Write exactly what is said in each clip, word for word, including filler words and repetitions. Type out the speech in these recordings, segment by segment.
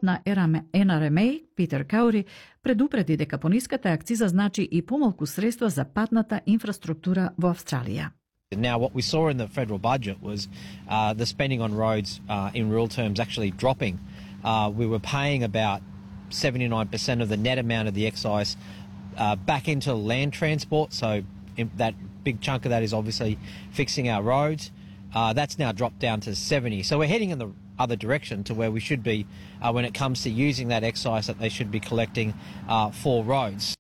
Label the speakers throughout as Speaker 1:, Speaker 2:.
Speaker 1: на Ен Ар Ем Еј, Питер Каури, предупреди дека пониската акциза значи и помалку средства за патната инфраструктура во Австралија.
Speaker 2: Now, what we saw in the federal budget was uh, the spending on roads uh, in real terms actually dropping. Uh, we were paying about seventy-nine percent of the net amount of the excise uh, back into land transport, so in that big chunk of that is obviously fixing our roads. Uh, that's now dropped down to seventy. So we're heading in the other direction to where we should be uh, when it comes to using that excise that they should be collecting uh, for roads.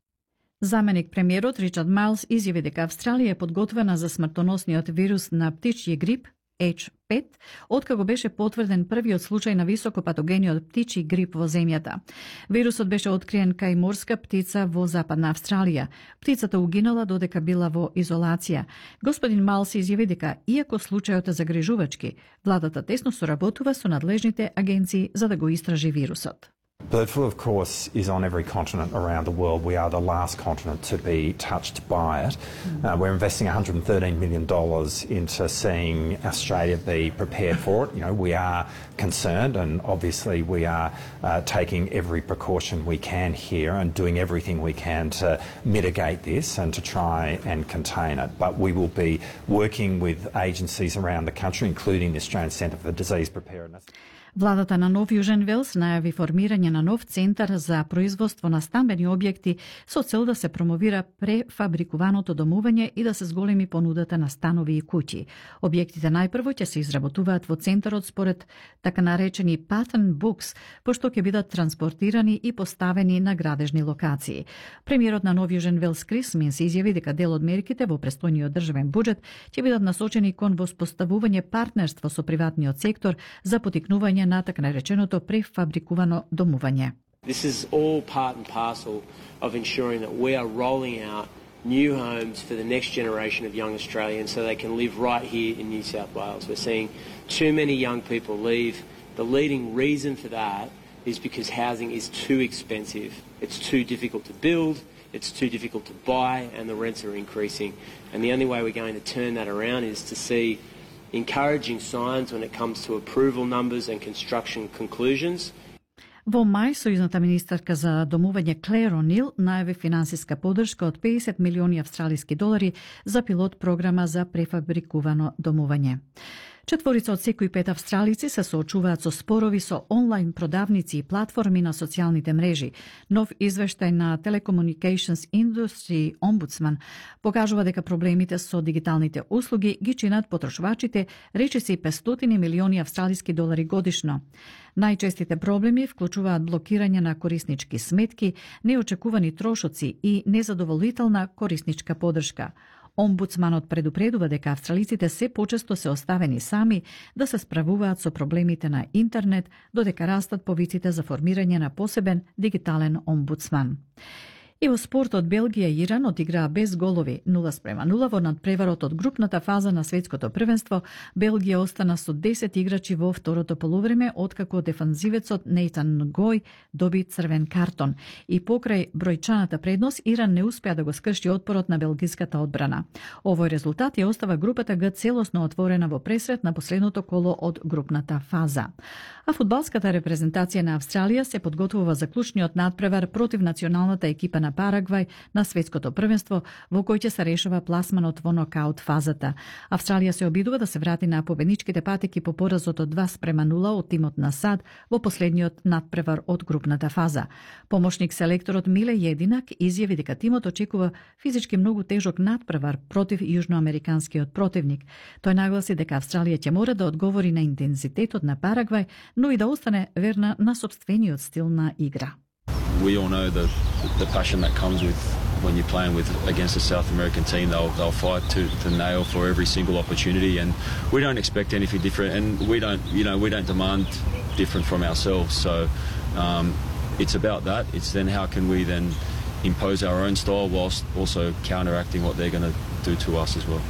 Speaker 1: Заменик премиерот Ричард Майлс изјави дека Австралија е подготвена за смртоносниот вирус на птичји грип Еч пет, откако беше потврден првиот случај на високопатогениот птичји грип во земјата. Вирусот беше откриен кај морска птица во Западна Австралија. Птицата угинала додека била во изолација. Господин Майлс изјави дека, иако случајот е загрижувачки, владата тесно соработува со надлежните агенции за да го истражи вирусот.
Speaker 3: Bird flu, of course, is on every continent around the world. We are the last continent to be touched by it. Uh, we're investing one hundred thirteen million dollars into seeing Australia be prepared for it. You know, we are concerned, and obviously we are uh, taking every precaution we can here and doing everything we can to mitigate this and to try and contain it. But we will be working with agencies around the country, including the Australian Centre for Disease Preparedness.
Speaker 1: Владата на Нов Јужен Велс најави формирање на нов центар за производство на стамбени објекти со цел да се промовира префабрикуваното домување и да се зголеми понудата на станови и куќи. Објектите најпрво ќе се изработуваат во центарот според така наречени pattern books, пошто ќе бидат транспортирани и поставени на градежни локации. Премиерот на Нов Јужен Велс Крис Минс изјави дека дел од мерките во престојниот државен буџет ќе бидат насочени кон воспоставување партнерство со приватниот сектор за потикнување на така нареченото префабрикувано домување.
Speaker 4: This is all part and parcel of ensuring that we are rolling out new homes for the next generation of young Australians so they can live right here in New South Wales. We're seeing too many young people leave. The leading reason for that is because housing is too expensive. It's too difficult to build, it's too difficult to buy, and the rents are increasing. And the only way we're going to turn that around is to see encouraging signs when it comes to approval numbers and construction conclusions.
Speaker 1: Во мај, сојузната министерка за домување Клер О'Нил најави финансиска поддршка од педесет милиони австралиски долари за пилот програма за префабрикувано домување. Четворица од секој пет австралици се соочуваат со спорови со онлайн продавници и платформи на социјалните мрежи. Нов извештај на Telecommunications Industry Ombudsman покажува дека проблемите со дигиталните услуги ги чинат потрошувачите речиси петстотини милиони австралиски долари годишно. Најчестите проблеми вклучуваат блокирање на кориснички сметки, неочекувани трошоци и незадоволителна корисничка поддршка. Омбудсманот предупредува дека австралиците се почесто се оставени сами да се справуваат со проблемите на интернет, додека растат повиците за формирање на посебен дигитален омбудсман. И во спортот Белгија и Иран одиграа без голови нула спрема нула во надпреварот од групната фаза на светското првенство. Белгија остана со десет играчи во второто полувреме, откако дефанзивецот Нейтан Гој доби црвен картон. И покрај бројчаната предност, Иран не успеа да го скрши отпорот на белгиската одбрана. Овој резултат ја остава групата Г целосно отворена во пресрет на последното коло од групната фаза. А фудбалската репрезентација на Австралија се подготвува за клучниот надпревар против националната екипа на Парагвај на светското првенство, во кој ќе се решава пласманот во нокаут фазата. Австралија се обидува да се врати на победничките патеки по поразот од два спрема нула од тимот на САД во последниот надпревар од групната фаза. Помошник селекторот Миле Јединак изјави дека тимот очекува физички многу тежок надпревар против јужноамериканскиот противник. Тој нагласи дека Австралија ќе мора да одговори на интензитетот на Парагвај, но и да остане верна на сопствениот стил на игра.
Speaker 5: We all know the the passion that comes with when you're playing with against a South American team. They'll they'll fight to the nail for every single opportunity, and we don't expect anything different. And we don't, you know, we don't demand different from ourselves. So um, it's about that. It's then how can we then impose our own style whilst also counteracting what they're going to do to us as well.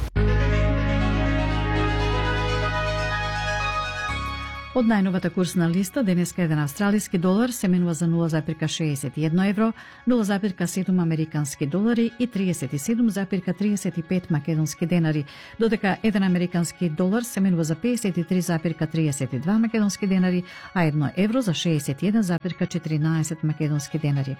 Speaker 1: Од најновата курсна листа, денеска еден австралиски долар се менува за нула зарез шеесет и едно евро, нула зарез седум американски долари и триесет и седум зарез триесет и пет македонски денари, додека еден американски долар се менува за песет и три зарез триесет и два македонски денари, а едно евро за шеесет и еден зарез четиринаесет македонски денари.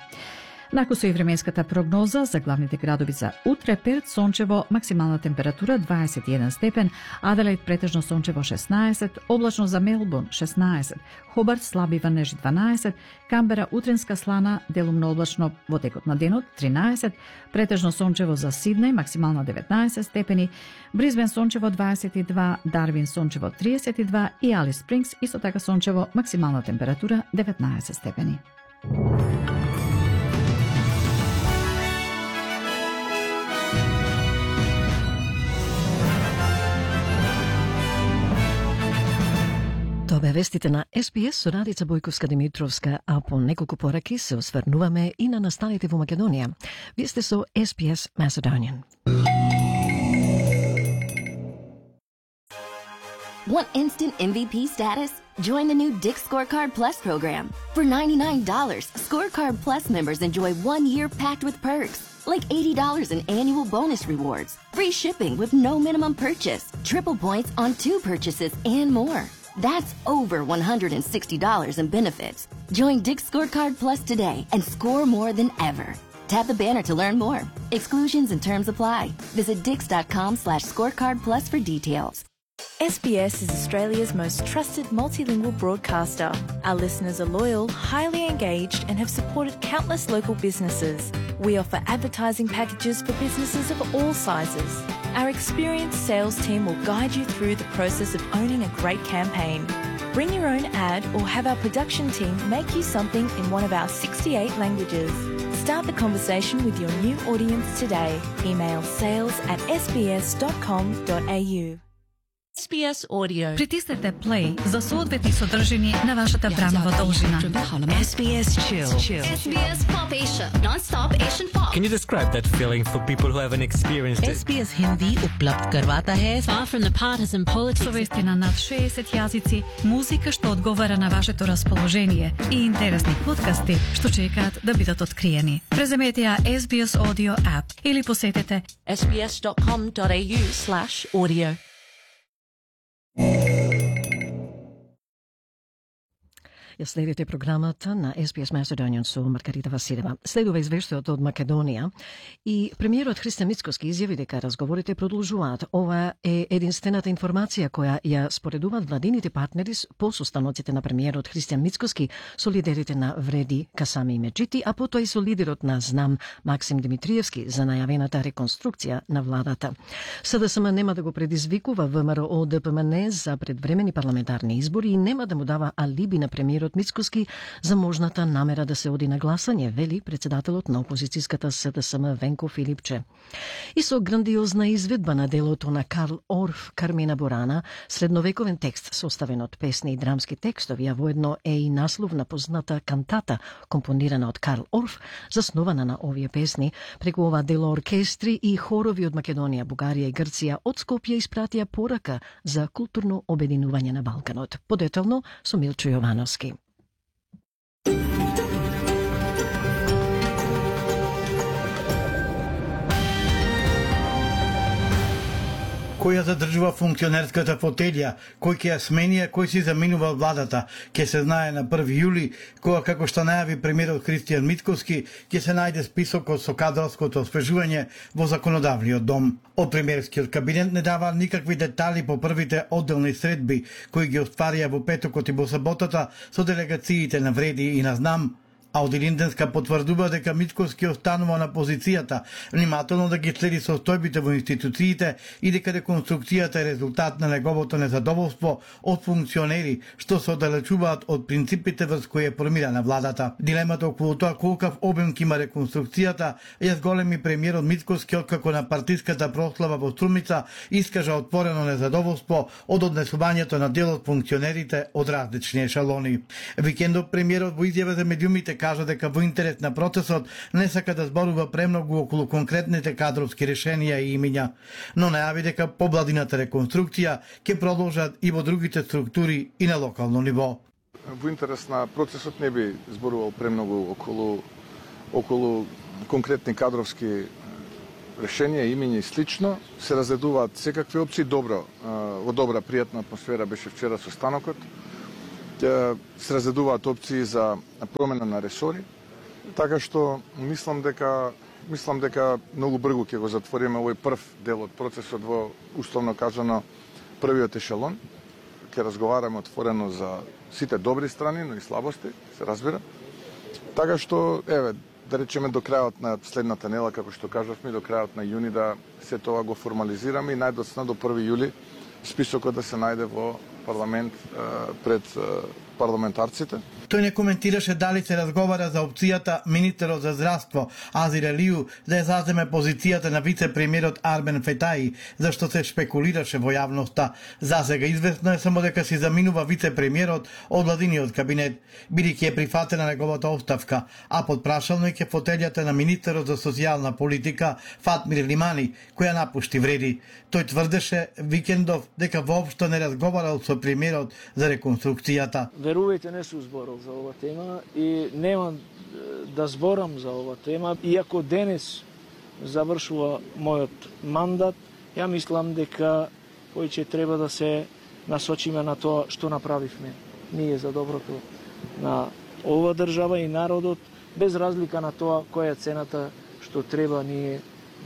Speaker 1: Накусо и временската прогноза за главните градови за утре: Перт сончево, максимална температура дваесет и еден степен, Аделаид претежно сончево шеснаесет, облачно за Мелбурн шеснаесет, Хобарт слаби ванежи дванаесет, Камбера утренска слана, делумно облачно во текот на денот тринаесет, претежно сончево за Сиднеј, максимална деветнаесет степени, Бризбен сончево дваесет и два, Дарвин сончево триесет и два и Алис Спрингс исто така сончево, максимална температура деветнаесет степени.
Speaker 6: Тоа бе вестите на Ес Би Ес со Радица Бојковска-Димитровска, а по неколку пораки се осврнуваме и на настаните во Македонија. Вие сте со Ес Би Ес Macedonian.
Speaker 7: Want instant M V P status? Join the new Dick's Scorecard Plus program. For ninety-nine dollars, Scorecard Plus members enjoy one year packed with perks, like eighty dollars in annual bonus rewards, free shipping with no minimum purchase, triple points on two purchases, and more. That's over one hundred sixty dollars in benefits. Join Dick's Scorecard Plus today and score more than ever. Tap the banner to learn more. Exclusions and terms apply. Visit dix.com slash scorecard plus for details.
Speaker 8: S B S is Australia's most trusted multilingual broadcaster. Our listeners are loyal, highly engaged, and have supported countless local businesses. We offer advertising packages for businesses of all sizes. Our experienced sales team will guide you through the process of owning a great campaign. Bring your own ad or have our production team make you something in one of our sixty-eight languages. Start the conversation with your new audience today. Email sales at s b s dot com dot a u.
Speaker 9: Ес Би Ес Audio.
Speaker 1: Притиснете play за соодветни содржини на вашата времева должина.
Speaker 9: Ес Би Ес Chill.
Speaker 10: Ес Би Ес Pop Asia. Non-stop Asian pop.
Speaker 11: Can you describe that feeling for people who haven't experienced it?
Speaker 9: Ес Би Ес Hindi उपलब्ध करवाता है Far from the partisan politics.
Speaker 1: Со вести на над шеесет јазици, музика што одговара на вашето расположение и интересни подкасти што чекаат да бидат откриени. Преземете ја Ес Би Ес Audio app или посетете
Speaker 9: s b s dot com dot a u slash audio.
Speaker 6: Ја следите програмата на Ес Би Ес Macedonian со Маргарита Василева. Следува извештајот од Македонија и премиерот Христијан Мицкоски изјави дека разговорите продолжуваат. Ова е единствената информација која ја споредуваат владините партнери по состаноците на премиерот Христијан Мицкоски со лидерите на Вреди, Касами и Меджити, а потоа и со лидерот на Знам Максим Димитриевски за најавената реконструкција на владата. СДСМ нема да го предизвикува ВМРО Д П М Н за предвремени парламентарни избори и нема да му дава алиби на премиерот Мицкоски за можната намера да се оди на гласање, вели председателот на опозицијската СДСМ Венко Филипче. И со грандиозна изведба на делото на Карл Орф Кармина Бурана, средновековен текст составен од песни и драмски текстови, а воедно е и наслов на позната кантата компонирана од Карл Орф, заснована на овие песни, преку ова дело оркестри и хорови од Македонија, Бугарија и Грција од Скопје испратија порака за културно обединување на Балканот. Подетално со Милчо Јовановски.
Speaker 12: Кој ја задржува функционерската фотелја, кој ќе ја смени, кој си заминува владата, ќе се знае на први јули, кога како што најави премиерот Христијан Мицкоски, ќе се најде списокот со кадровското освежување во законодавниот дом. Од премиерскиот кабинет не дава никакви детали по првите одделни средби кои ги остварија во петокот и во саботата со делегациите на Вреди и на Знам. А од Илинденска потврдува дека Мицкоски останува на позицијата, внимателно да ги следи состојбите во институциите и дека реконструкцијата е резултат на неговото незадоволство од функционери што се оддалечуваат од принципите врз кои е формирана владата. Дилемата околу тоа колкав обем ќе има реконструкцијата ја зголеми премиерот Мицкоски откако на партиската прослава во Струмица искажа отворено незадоволство од однесувањето на дел од функционерите од различни ешалони. Викендов премиерот во изјава за медиумите кажа дека во интерес на процесот не сака да зборува премногу околу конкретните кадровски решенија и имиња, но најави дека побладината реконструкција ќе продолжат и во другите структури и на локално ниво.
Speaker 13: Во интерес на процесот не би зборувал премногу околу околу конкретни кадровски решенија, имиња и слично. Се разгледуваат секакви опции. Добро, во добра, пријатна атмосфера беше вчера состанокот. Се разгледуваат опции за промена на ресори, така што мислам дека мислам дека многу брзо ќе го затвориме овој прв дел од процесот во условно кажано првиот ешелон. Ќе разговараме отворено за сите добри страни, но и слабости, се разбира. Така што, еве, да речеме до крајот на следната недела, како што кажавме, до крајот на јуни да се тоа го формализираме и најдоцна до први јули списокот да се најде во парламент пред парламентарците.
Speaker 12: Тој не коментираше дали се разговара за опцијата министерот за здравство Азир Алију да ја заземе позицијата на вице-премиерот Армен Фетаи, зашто се шпекулираше во јавноста. Засега известно е само дека си заминува вице-премиерот од владиниот кабинет, бидејќи е прифатена неговата оставка, а под прашално е ке фотелјата на министерот за социјална политика Фатмир Лимани, која напушти вреди. Тој тврдеше викендов дека воопшто не разговарал со премиерот за реконструкцијата.
Speaker 14: Верувајте, не сум зборал за ова тема и немам да зборам за ова тема. Иако денес завршува мојот мандат, ја мислам дека повеќе треба да се насочиме на тоа што направивме ние за доброто на ова држава и народот, без разлика на тоа која е цената што треба ние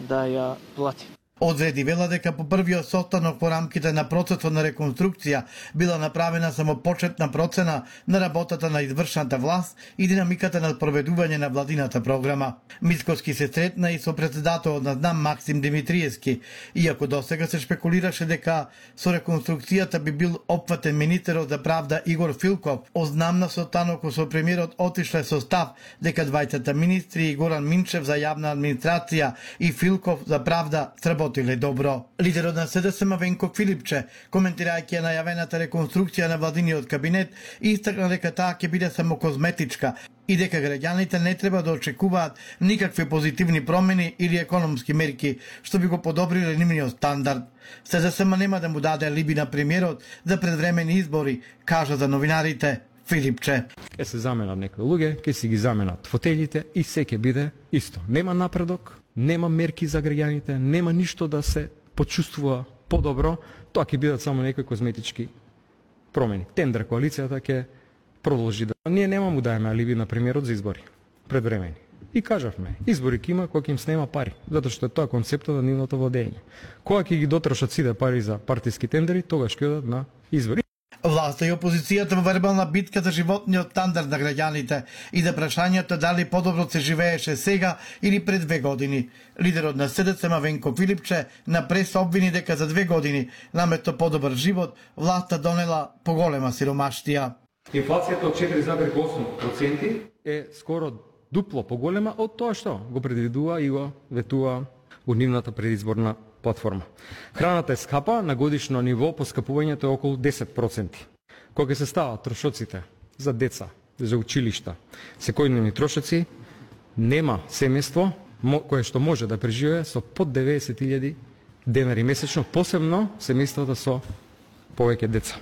Speaker 14: да ја платиме.
Speaker 12: Одреди вела дека по првиот состанок по рамките на процесот на реконструкција била направена само почетна процена на работата на извршната власт и динамиката на проведување на владината програма. Мицкоски се сретна и со председателот на ЗНАМ Максим Димитриевски, иако досега се шпекулираше дека со реконструкцијата би бил опфатен министерот за правда Игор Филков. Од ЗНАМ на состанокот со премиерот отишле со став дека двајцата министри Горан Минчев за јавна администрација и Филков за правда сработиле добро. Лидерот на СДСМ Венко Филипче, коментирајќи најавената реконструкција на владиниот кабинет, истакна дека таа ќе биде само козметичка и дека граѓаните не треба да очекуваат никакви позитивни промени или економски мерки, што би го подобриле нивниот стандард. СДСМ нема да му даде алиби на премиерот за предвремени избори, кажа за новинарите Филипче.
Speaker 15: Ке се заменат некои луѓе, ке си ги заменат фотелите и се ќе биде исто. Нема напредок, нема мерки за граѓаните, нема ништо да се почувствува подобро, тоа ќе бидат само некои козметички промени. Тендер коалицијата ќе продолжи да... Ние нема му даеме алиби на премиерот за избори, предвремени. И кажавме, избори ќе има кога ќе им снема пари, затоа што е тоа концептот на нивното владење. Кога ќе ги дотрошат сите пари за партиски тендери, тогаш ќе одат на избори.
Speaker 12: Власта и опозицијата во вербална битка за животниот стандард на граѓаните и за прашањето дали подобро се живееше сега или пред две години. Лидерот на СДСМ Венко Филипче на прес обвини дека за две години, наместо подобар живот, власта донела поголема сиромаштија.
Speaker 15: Инфлацијата од четири зарез осум проценти е скоро дупло поголема од тоа што го предвидува и го ветува во нивната предизборна платформа. Храната е скапа, на годишно ниво поскапувањето е околу десет проценти. Кога се стават трошоците за деца, за училишта, секојдневни трошоци, нема семејство кое што може да преживее со под деветдесет илјади денари месечно, посебно семејствата со повеќе деца.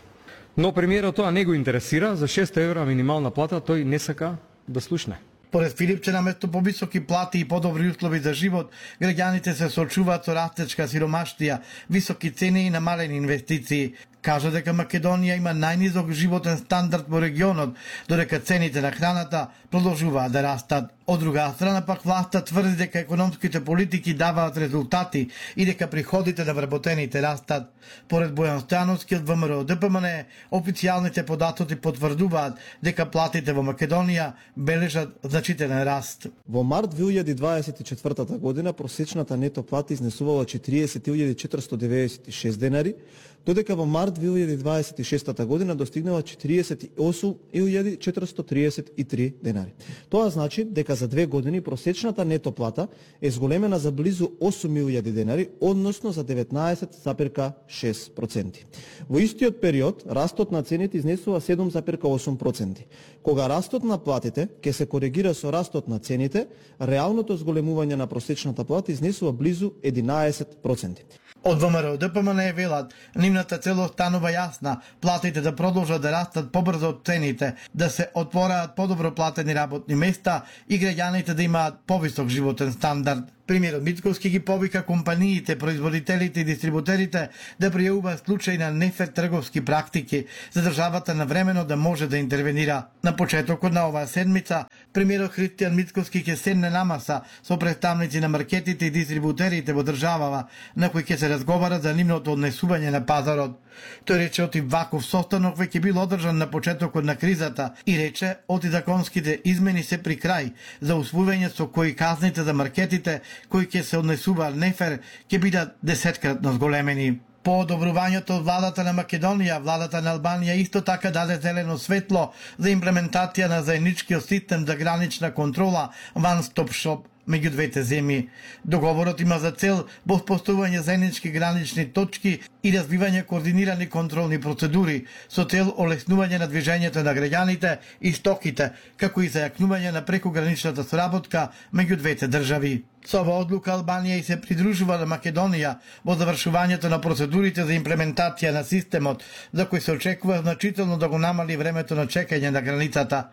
Speaker 15: Но премиерот тоа не го интересира, за шест евра минимална плата тој не сака да слушне.
Speaker 12: Поред Филипче, наместо повисоки плати и подобри услови за живот, граѓаните се соочуваат со растечка сиромаштија, високи цени и намалени инвестиции. Кажа дека Македонија има најнизок животен стандард во регионот, додека цените на храната продолжуваат да растат. Од друга страна пак власта тврди дека економските политики даваат резултати и дека приходите на вработените растат. Поред Бојан Стојановски од ВМРО Д П М Н, официјалните податоци потврдуваат дека платите во Македонија бележат значителен раст.
Speaker 16: Во март две илјади дваесет и четвртата година просечната нето плата изнесувала четириесет илјади четиристотини деветдесет и шест денари, додека во март март две илјади дваесет и шеста година достигнува четириесет и осум илјади четиристотини триесет и три денари. Тоа значи дека за две години просечната нето плата е зголемена за близу осум илјади денари, односно за деветнаесет зарез шест проценти. Во истиот период, растот на цените изнесува седум зарез осум проценти. Кога растот на платите ќе се коригира со растот на цените, реалното зголемување на просечната плата изнесува близу единаесет проценти.
Speaker 12: Од ВМРО Д П М Н велат, нивната цел останува јасна, платите да продолжат да растат побрзо од цените, да се отвораат подобро платени работни места и граѓаните да имаат повисок животен стандард. Премиерот Мицкоски ги повика компаниите, производителите и дистрибутерите да пријавуваат случаи на нефер трговски практики, за државата навремено да може да интервенира. На почетокот на оваа седмица, премиерот Христијан Мицкоски ќе седне на маса со представници на маркетите и дистрибутерите во државава, на кои ќе се разговара за нивното однесување на пазарот. Тој рече оти ваков состанок веќе бил одржан на почетокот на кризата и рече оти законските измени се при крај за усвојување со кои казните за маркетите кои ќе се однесуваат нефер ќе бидат десеткратно зголемени. По одобрувањето од владата на Македонија, владата на Албанија исто така даде зелено светло за имплементација на заедничкиот систем за гранична контрола One Stop Shop меѓу двете земји. Договорот има за цел воспоставување заеднички гранични точки и развивање координирани контролни процедури со цел олеснување на движењето на граѓаните и стоките, како и зајакнување на прекограничната соработка меѓу двете држави. Со оваа одлука Албанија и се придружува на Македонија во завршувањето на процедурите за имплементација на системот, за кој се очекува значително да го намали времето на чекање на границата.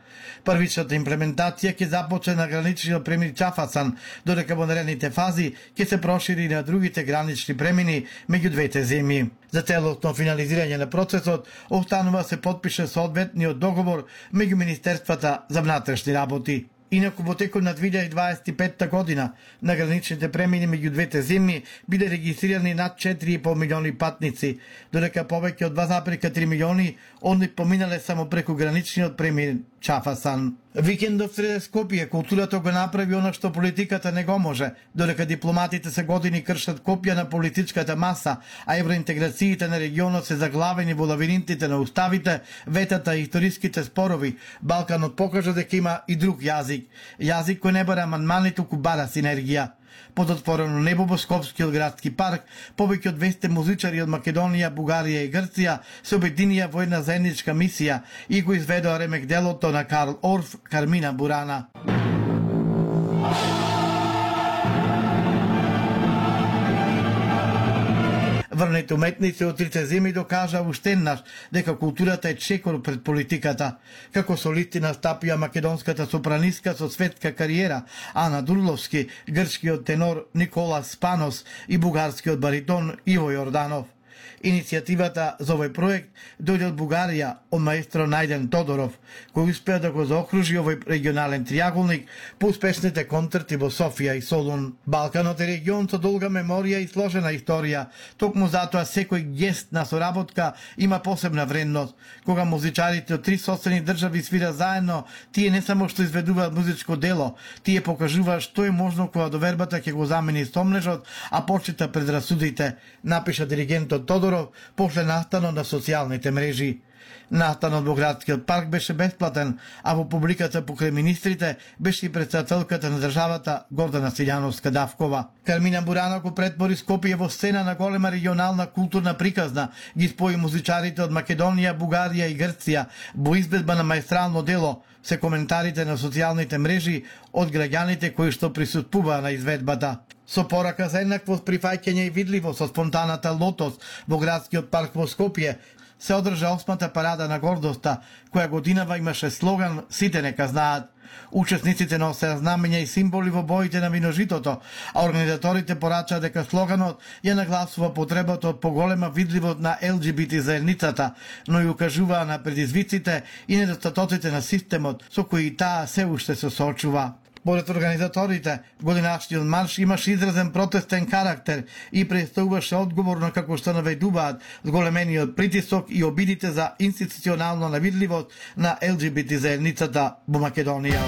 Speaker 12: Првичната имплементација ќе започне на граничниот премин Чафасан, додека во наредните фази ќе се прошири и на другите гранични премини меѓу двете земји. За целосно финализирање на процесот останува се подпише соодветниот договор меѓу Министерствата за внатрешни работи. Инаку во текот на две илјади дваесет и петта година на граничните премини меѓу двете земји биде регистрирани над четири и по милиони патници, додека повеќе од два зарез три милиони од нив поминале само преку граничниот премин Чафасан. Викендов среде Скопје културата го направи она што политиката не го може, додека дипломатите се години кршат копија на политичката маса, а евроинтеграциите на регионот се заглавени во лавиринтите на уставите, ветата и историските спорови. Балканот покажа дека има и друг јазик, јазик кој не бара амандмани, туку бара синергија. Под отворено небо во Скопскиот градски парк, повеќе од двесте музичари од Македонија, Бугарија и Грција се обединија во една заедничка мисија и го изведоа ремек делото на Карл Орф, Кармина Бурана. Врнете уметници од трите земји докажа уште еднаш дека културата е чекор пред политиката. Како солисти настапија македонската сопранистка со светска кариера Ана Дурловски, грчкиот тенор Никола Спанос и бугарскиот баритон Иво Јорданов. Иницијативата за овој проект дојде од Бугарија, од маестро Најден Тодоров, кој успеа да го заокружи овој регионален триаголник по успешните концерти во Софија и Солун. Балканот е регион со долга меморија и сложена историја. Токму затоа секој гест на соработка има посебна вредност. Кога музичарите од три соседни држави свира заедно, тие не само што изведуваат музичко дело, тие покажуваат што е можно кога довербата ќе го замени стомнежот, а почита предрасудите, напиша диригентот Тодоров после настанот на социјалните мрежи. Настанот во градскиот парк беше бесплатен, а во публиката покрај министрите беше и председателката на државата Гордана Силјановска-Давкова. Кармина Бурана го претвори Скопје во сцена на голема регионална културна приказна, ги спои музичарите од Македонија, Бугарија и Грција во изvedба на маестрално дело, се коментарите на социјалните мрежи од граѓаните кои што присуствуваа на изведбата. Со порака за еднакво прифаќање и видливост со спонтаната Лотос во градскиот парк во Скопје се одржа осмата парада на гордоста, која годинава имаше слоган "Сите нека знаат". Учесниците носеа знамења и символи во боите на виножитото, а организаторите порачаа дека слоганот ја нагласува потребата од поголема видливост на Ел Џи Би Ти заедницата, но и укажуваа на предизвиците и недостатоците на системот со кои таа се уште се соочува. Според организаторите, годинашниот марш имаше изразен протестен карактер и представуваше одговорно како што наведуваат зголемениот притисок и обидите за институционална навидливост на Ел Џи Би Ти заедницата во Македонија.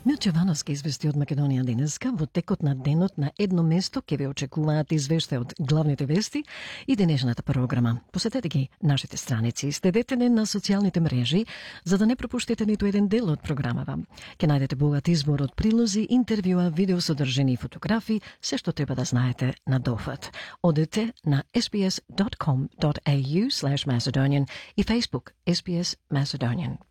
Speaker 6: Милче Вановски извести од Македонија денеска. Во текот на денот на едно место ќе ве очекуваат извештаи од главните вести и денешната програма. Посетете ги нашите страници, следете не на социјалните мрежи за да не пропуштите ниту еден дел од програмава. Ќе најдете богат избор од прилози, интервјуа, видеосодржини и фотографии, се што треба да знаете на дофат. Одете на ес би ес dot com dot a u slash Macedonian и Facebook ес би ес Macedonian.